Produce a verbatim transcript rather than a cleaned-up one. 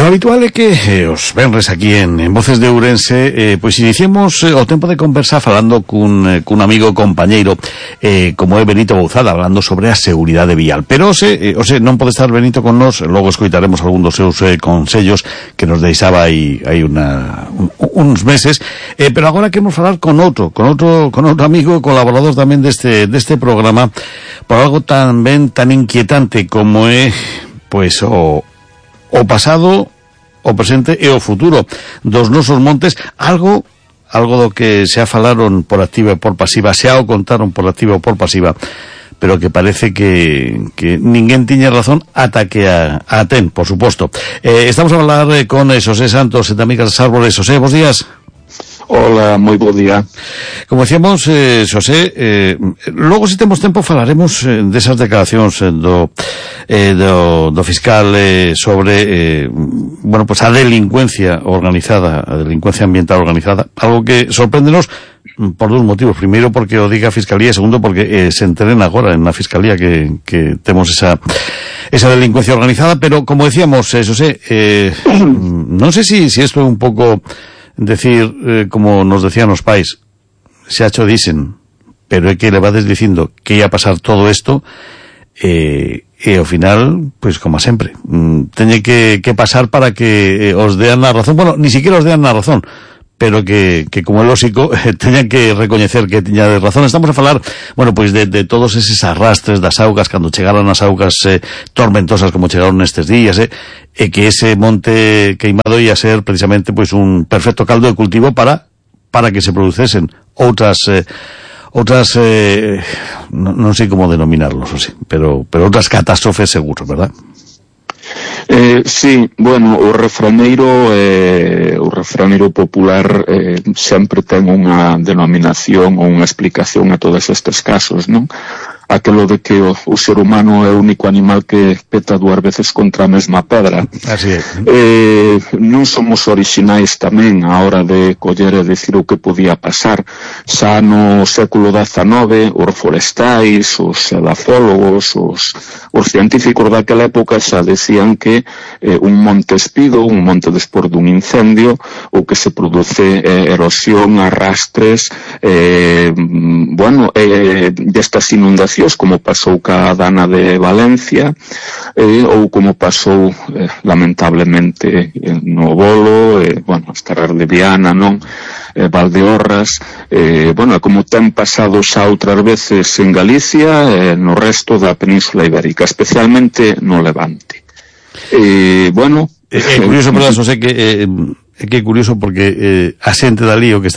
habitual é que eh, os venres aquí en, en Voces de Ourense eh, pois iniciemos eh, o tempo de conversa falando cun, eh, cun amigo compañeiro eh, como é Benito Bouzada, hablando sobre a seguridade vial. Pero ose, eh, ose non pode estar Benito con nos, logo escoitaremos algún dos seus eh, consellos que nos deixaba aí, aí una, un, uns meses, eh, pero agora queremos falar con outro, con outro, con outro amigo colaborador tamén deste, deste programa por algo tan ben, tan inquietante como é pois o o pasado, o presente e o futuro dos nosos montes, algo algo do que se a falaron por activa e por pasiva, se a o contaron por activa ou por pasiva, pero que parece que, que ninguén tiña razón ata que a, a ten, por suposto. Eh, estamos a falar eh, con eh, Xosé Santos, de Amigas das Árbores. Xosé, bons días. Hola, moi bo día. Como decíamos, eh, Xosé, eh, logo se temos tempo falaremos eh, desas declaracións eh, do, eh, do, do fiscal eh, sobre eh, bueno, pues a delincuencia organizada, a delincuencia ambiental organizada, algo que sorpréndenos por dos motivos. Primeiro porque o diga a Fiscalía, e segundo porque eh, se enteren agora en a Fiscalía que, que temos esa esa delincuencia organizada, pero como decíamos, eh, Xosé, eh, non sei si, si esto é un pouco decir, eh, como nos decían os pais, se ha hecho dicen, pero é que le vades dicindo que ia pasar todo isto, eh, e ao final, pois pues, como sempre, mm, teñe que, que pasar para que eh, os dean a razón, bueno, ni siquiera os dean a razón, pero que, que como é lógico, eh, teñan que recoñecer que tiña de razón. Estamos a falar, bueno, pois de, de todos eses arrastres das augas, cando chegaron as augas eh, tormentosas como chegaron nestes días, eh, e que ese monte queimado ia ser precisamente pois un perfecto caldo de cultivo para para que se producesen outras eh, outras eh, non, non sei como denominarlos, o sí, pero pero outras catástrofes seguros, verdad? Eh, sí, bueno, o refraneiro eh, o refraneiro popular eh, sempre ten unha denominación ou unha explicación a todos estes casos, non? Aquelo de que o, o ser humano é o único animal que peta dúas veces contra a mesma pedra. Así é. Eh, non somos orixinais tamén a hora de coller e dicir o que podía pasar. Xa no século dezanove, os forestais, os edafólogos, os, os científicos daquela época xa decían que eh, un monte espido, un monte despois dun incendio, o que se produce eh, erosión, arrastres, eh, bueno, eh, destas inundacións como pasou ca Dana de Valencia, eh, ou como pasou eh, lamentablemente eh, no Bolo, eh, bueno, as terras de Viana, non? Eh, Valdeorras, eh, bueno, como ten pasado xa outras veces en Galicia, eh, no resto da Península Ibérica, especialmente no Levante. Eh, bueno... É eh, curioso, perdón, Xosé, que... Eh, é que é curioso porque eh, a xente dali o que está